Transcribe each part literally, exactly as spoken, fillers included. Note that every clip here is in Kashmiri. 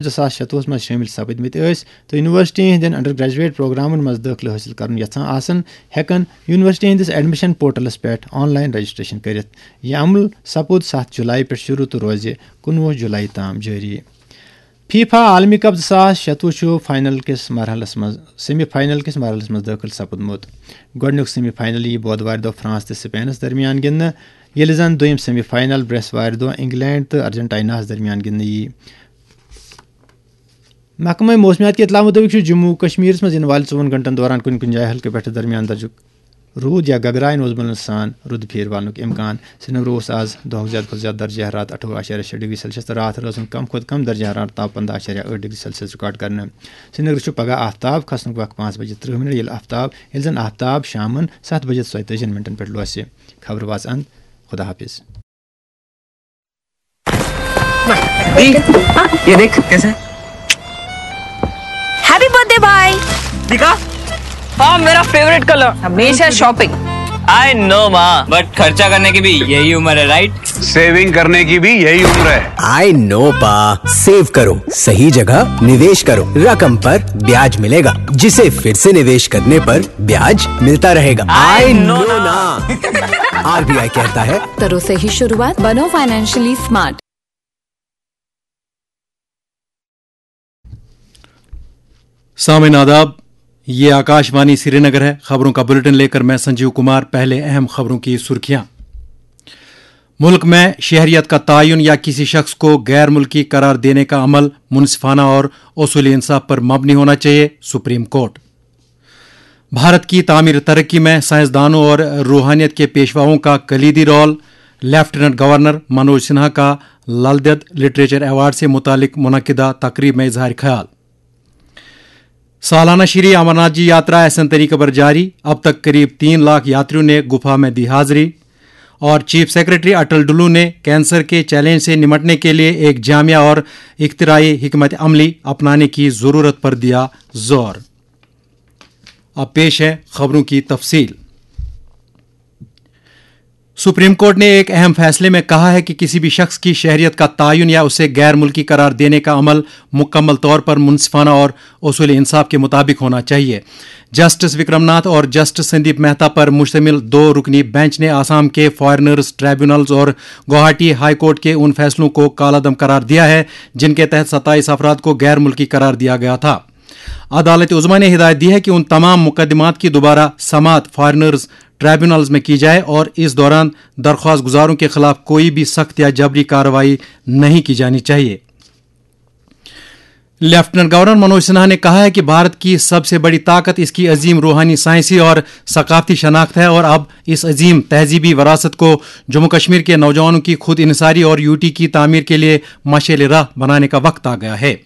زٕ ساس شَتوُہَس منٛز شٲمِل سپٕدمٕتۍ ٲسۍ تہٕ یونیورسٹی ہٕنٛدٮ۪ن انڈر گریجویٹ پروگرامن منٛز دٲخلہٕ حٲصِل کرُن یژھان آسن، ہٮ۪کن یونیورسٹی ہٕنٛدِس ایڈمیشن پورٹلس پٮ۪ٹھ آن لاین رجسٹریشن کٔرِتھ۔ یہِ عمل سپُد ستھ جولائی پٮ۪ٹھ شروع تہٕ روزِ کُنوُہ جولائی تام جٲری۔ فیفا عالمی کپ زٕ ساس شَتوُہ چھُ فائنل کِس مرحلس منٛز، سیمی فائنل کِس مرحلس منٛز دٲخل سپُدمُت۔ گۄڈٕنیُک سیمی فائنل یِیہِ بودوارِ دۄہ فرانس تہٕ سپینس درمیان گِنٛدنہٕ، ییٚلہِ زن دوٚیِم سیمی فائنل برٛٮ۪سوارِ دۄہ انگلینڈ تہٕ ارجنٹائناہس درمیان گِنٛدنہٕ یِیہِ۔ محکمہ موسمیات کہِ اطلاع مُطٲبِق چھُ جموں و کشمیرس منٛز یِنہٕ والہِ ژوٚوُہن گھنٹن دوران کُنہِ کُنہِ جایہِ ہلکہٕ پٮ۪ٹھٕ درمیان درجُک روٗد یا گگراین اوس بنان سان رُدٕ پھیرٕ والنُک امکان۔ سرینگر اوس آز دۄہُک زیادٕ کھۄتہٕ زیادٕ درجہ حرارت اَٹھووُہ اعشاریہ شےٚ ڈگری سیلسیس تہٕ راتھ روزُن کم کھۄتہٕ کم درجہ حرارت تاپمان دَہ اعشاریہ ٲٹھ ڈگری سیلسیس ریکارڈ کرنہٕ۔ سرینگرَس چھُ پگہہ آفتاب کھسنُک وقت پانٛژھ بجے ترٕٛہ منٹ، ییٚلہِ آفتاب، ییٚلہِ زن آفتاب شامن ستھ بجے ژۄیتٲجی منٹن پٮ۪ٹھ لوسہِ۔ خبرٕ واژ اند۔ خدا حافظ۔ दी, ये देख कैसे है। हैप्पी बर्थडे भाई। दिखा। हाँ, मेरा फेवरेट कलर। हमेशा शॉपिंग। आई नो माँ, बट खर्चा करने की भी यही उम्र है, राइट? सेविंग करने की भी यही उम्र है। आई नो पा, सेव करो, सही जगह निवेश करो, रकम पर ब्याज मिलेगा, जिसे फिर से निवेश करने पर ब्याज मिलता रहेगा। I know ना। आरबीआई कहता है, करो सही शुरुआत, बनो फाइनेंशियली स्मार्ट। सामईन आदाब, ये आकाशवाणी श्रीनगर है। खबरों का बुलेटिन लेकर मैं संजीव कुमार। पहले अहम खबरों की सुर्खियां। मुल्क में शहरियत का तयन या किसी शख्स को गैर मुल्की करार देने का अमल मुनसिफाना और उसूली इंसाफ पर मबनी होना चाहिए, सुप्रीम कोर्ट। भारत की तामीर तरक्की में साइंसदानों और रूहानियत के पेशवाओं का कलीदी role, lieutenant governor Manoj Sinha का ललदेद लिटरेचर अवार्ड से मुतालिक मुनक्किदा तकरीब में इजहार ख्याल। सालाना श्री अमरनाथ जी यात्रा एहसन तरीके पर जारी, अब तक करीब तीन लाख यात्रियों ने गुफा में दी हाजिरी। और चीफ सेक्रेटरी अटल डुल्लू ने कैंसर के चैलेंज से निमटने के लिए एक जामिया और इख्तिराई हिकमत अमली अपनाने की ज़रूरत पर दिया जोर। अब पेश है खबरों की तफसील। सुप्रीम कोर्ट ने एक अहम फैसले में कहा है कि किसी भी शख्स की शहरियत का तयन या उसे गैर मुल्की करार देने का अमल मुकम्मल तौर पर मुनसिफाना और उसूल इंसाफ के मुताबिक होना चाहिए। जस्टिस विक्रमनाथ और जस्टिस संदीप मेहता पर मुश्तमिल दो रुकनी बेंच ने आसाम के फॉरेनर्स ट्राइब्यूनल्स और गुवाहाटी हाई कोर्ट के उन फैसलों को कालादम करार दिया है, जिनके तहत सत्ताईस अफराद को गैर मुल्की करार दिया गया था। अदालत उजमा ने हिदायत दी है कि उन तमाम मुकदमात की दोबारा समात फॉरेनर्स ट्राइब्यूनल्स में की जाए और इस दौरान दरख्वास्त गुजारों के खिलाफ कोई भी सख्त या जबरी कार्रवाई नहीं की जानी चाहिए। लेफ्टिनेंट गवर्नर मनोज सिन्हा ने कहा है कि भारत की सबसे बड़ी ताकत इसकी अजीम रूहानी, साइंसी और सकाफती शनाख्त है और अब इस अजीम तहजीबी वरासत को जम्मू कश्मीर के नौजवानों की खुद इनसारी और यूटी की तामीर के लिए मशेल राह बनाने का वक्त आ गया है।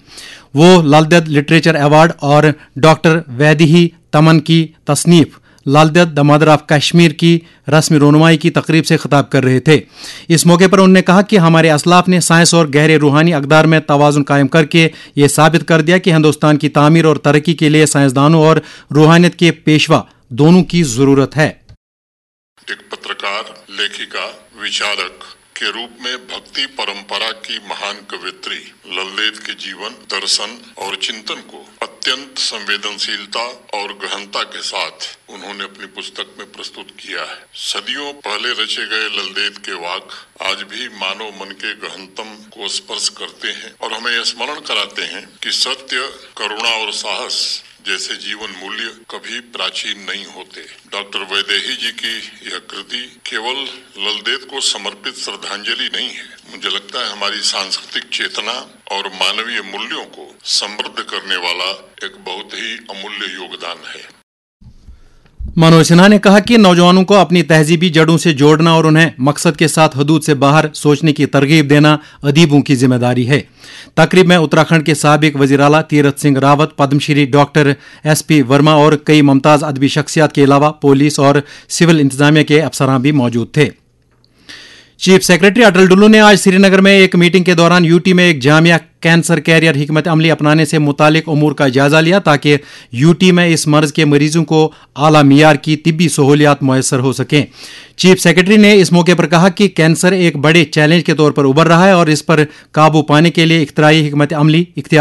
वो ललदेद लिटरेचर अवार्ड और डॉक्टर वैदेही तमन की तसनीफ ललदेद द मदर ऑफ कश्मीर की रस्म रोनुमाई की तकरीब से खिताब कर रहे थे। इस मौके पर उन्होंने कहा कि हमारे असलाफ ने साइंस और गहरे रूहानी अकदार में तवाजुन कायम करके ये साबित कर दिया कि हिंदुस्तान की तामीर और तरक्की के लिए साइंसदानों और रूहानियत के पेशवा दोनों की ज़रूरत है। एक पत्रकार, लेखिका, विचारक के रूप में भक्ति परंपरा की महान कवियत्री ललदेद के जीवन, दर्शन और चिंतन को अत्यंत संवेदनशीलता और गहनता के साथ उन्होंने अपनी पुस्तक में प्रस्तुत किया है। सदियों पहले रचे गए ललदेद के वाक आज भी मानव मन के गहनतम को स्पर्श करते हैं और हमें यह स्मरण कराते हैं कि सत्य, करुणा और साहस जैसे जीवन मूल्य कभी प्राचीन नहीं होते। डॉक्टर वैदेही जी की यह कृति केवल ललदेद को समर्पित श्रद्धांजलि नहीं है। मुझे लगता है, हमारी सांस्कृतिक चेतना और मानवीय मूल्यों को समृद्ध करने वाला एक बहुत ही अमूल्य योगदान है। मनोज सिन्हा ने कहा कि नौजवानों को अपनी तहजीबी जड़ों से जोड़ना और उन्हें मकसद के साथ हदूद से बाहर सोचने की तरगीब देना अदीबों की जिम्मेदारी है। तकरीब में उत्तराखंड के सबक वजीर आला Tirath Singh Rawat, Padmashri doctor S P Verma और कई मुमताज अदबी शख्सियात के अलावा पुलिस और सिविल इंतजामिया के अफसरान भी मौजूद थे। चीफ सेक्रेटरी अटल डुल्लू ने आज श्रीनगर में एक मीटिंग के दौरान यूटी में एक जामिया कैंसर कैरियर हिकमत अमली अपनाने से मुतालिक उमूर का जायजा लिया, ताकि यूटी में इस मर्ज के मरीजों को आला मियार की तिब्बी सहूलियात मुयसर हो सकें। चीफ सेक्रेटरी ने इस मौके पर कहा कि कैंसर एक बड़े चैलेंज के तौर पर उभर रहा है और इस पर काबू पाने के लिए इख्तराई हिकमत अमली इख्तियार